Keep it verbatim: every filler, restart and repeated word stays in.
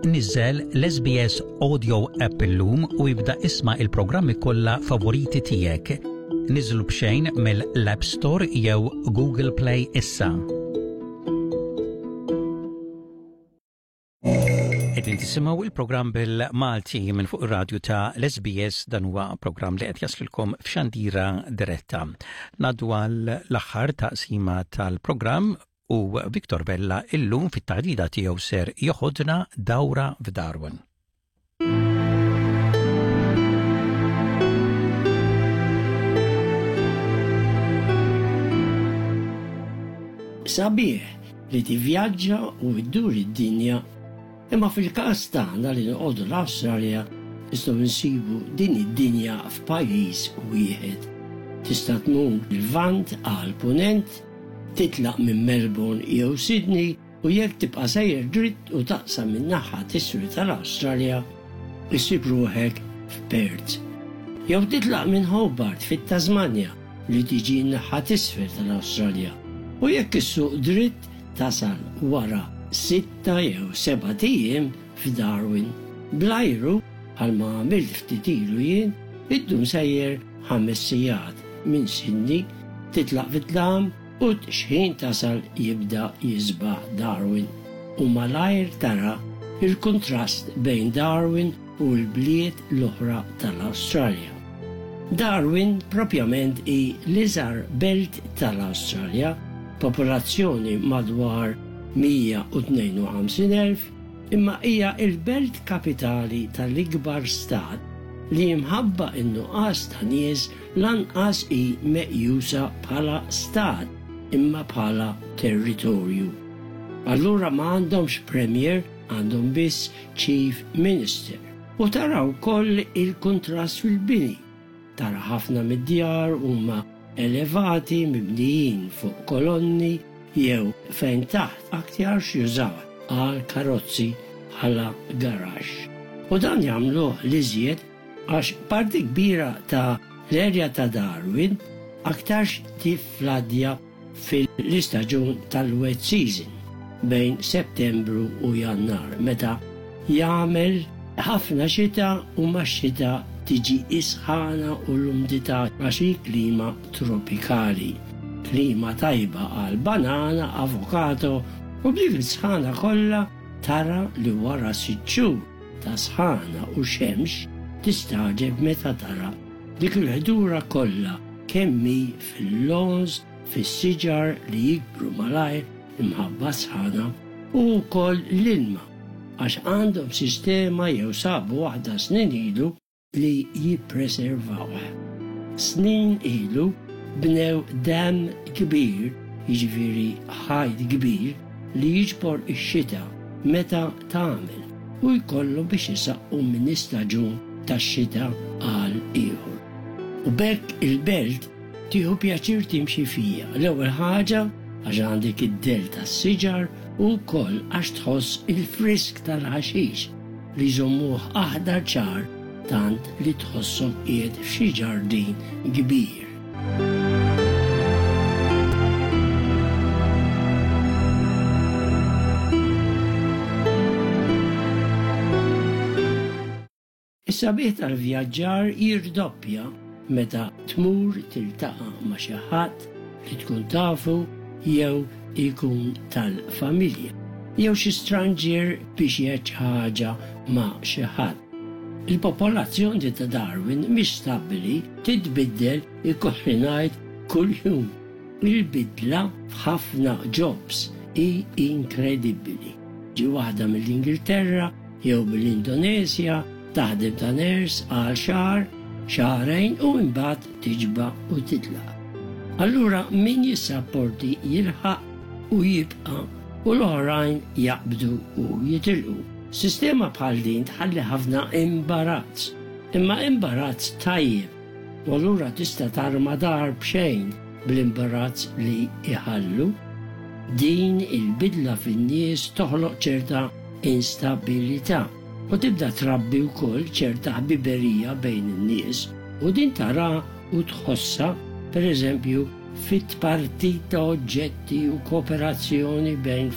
Niżżel l-S B S Audio App illum u ibda isma' il-programmi kollha favoriti tiegħek. Niżlu b'xejn mill-App Store jew Google Play issa. Qegħdin tisimgħu il-programm bil-Malti minn fuq ir-radju ta' l-S B S. Dan huwa programm li qed jaslilkom f'xandira diretta. Ngħaddu għal l-aħħar taqsima tal-programm u Victor Vella illum fit-taħdita tiegħu ser joħodna dawra f'Darwin. Sabiħ li tivvjaġġa u ddur id-dinja, imma fil-każ tagħna li noqogħdu l-Awstralja nistgħu nsibu din id-dinja f'pajjiż wieħed. Tista' tmur il-Lvant għal Punent, titlaq minn Melbourne jew Sydney u jekk tibqa' sejjer dritt u taqsam minn naħa t'isfel tal-Awstralja, issib ruħek f'Perth. Jew titlaq minn Hobart fit-Tasmania li tiġi n-naħa t'isfel tal-Awstralja. U jekk issuq dritt tasal wara sitta jew sebat ijiem f'Darwin. Bl-ajru, bħalma għamilt ftit ilu jien, iddum sejjer ħames sigħat minn Sydney, titlaq fit-dlam u xħin tasal jibda jisbaħ Darwin. U malajr tara il-kontrast bejn Darwin u l-bliet l-oħra tal-Awstralja. Darwin propjament hi l-iżgħar belt tal-Awstralja, popolazzjoni madwar mija u tnejn u ħamsin elf, imma hija il-belt kapitali tal-ikbar stat li minħabba in-nuqqas ta' nies lanqas hi meqjusa bħala stat imma bħala territorju. Allura ma għandhomx premier, għandhom biss chief minister. U tara wkoll il-kontrast fil-bini. Tara ħafna mid-djar huma elevati, mibnijin fuq kolonni jew fejn taħt aktar jużaw għal karozzi bħala garaxx. U dan jagħmluh l-iżjed għax parti kbira ta' l-erja ta' Darwin aktarx tiffladja fil-istaġun tal-wet season bejn Settembru u Jannar, meta jagħmel ħafna xita u max-xita tiġi is-sħana u l-umdità għax hi klima tropikali. Klima tajba għal banana, avokado, u b'dik is-sħana kollha tara li wara sitt xhur ta' sħana u xemx tistagħġeb meta tara dik il-ħdura kollha kemm hi fil-lawns, fis-siġar li jikbru malajr imħabba sħana, u wkoll l-ilma għax għandhom sistema jew sabu waħda snin ilu li jippreservawh. Snin ilu bnew dam kbir, jiġifieri ħajt kbir li jiġbor ix-xita meta tagħmel u jkollu biex isaqqu minn istaġun tax-xita għal ieħor. U b'hekk il-belt tieħu pjaċir timxi fija. L-ewwel ħaġa għax għandek id-del tas-siġar u wkoll għax tħoss il-frisk tal-ħaxix li jżommuh aħdar ċar tant li tħossok qiegħed f'xi ġardin kbir. Is-sabiħ tal-vjaġġar jirdoppja meta tmur tiltaqa' ma' xi ħadd li tkun tafu jew ikun tal-familja, jew xi stranger biex jgħid ħaġa ma' xi ħadd. Il-popolazzjoni ta' Darwin mhix stabbli, titbiddel, ikolli ngħid, kuljum. Il-bidla f'ħafna jobs hi inkredibbli. Ġi waħda mill-Ingilterra jew mill-Indonesja taħdem ta' nurse għal xahar, xahrejn u imbagħad tiġba u titlaq. Allura min jissapporti jilħaq u jibqa' u l-oħrajn jaqbdu u jitilqu. Sistema bħal din tħalli ħafna imbarazz, imma imbarazz tajjeb. U allura tista' tarma dar b'xejn bl-imbarazz li iħallu. Din il-bidla fin-nies toħloq ċerta instabilità u tibda trabbi wkoll ċerta ħbiberija bejn in-nies, u din tara u tħossa, per eżempju, fit-tpartit ta' oġġetti u kooperazzjoni bejn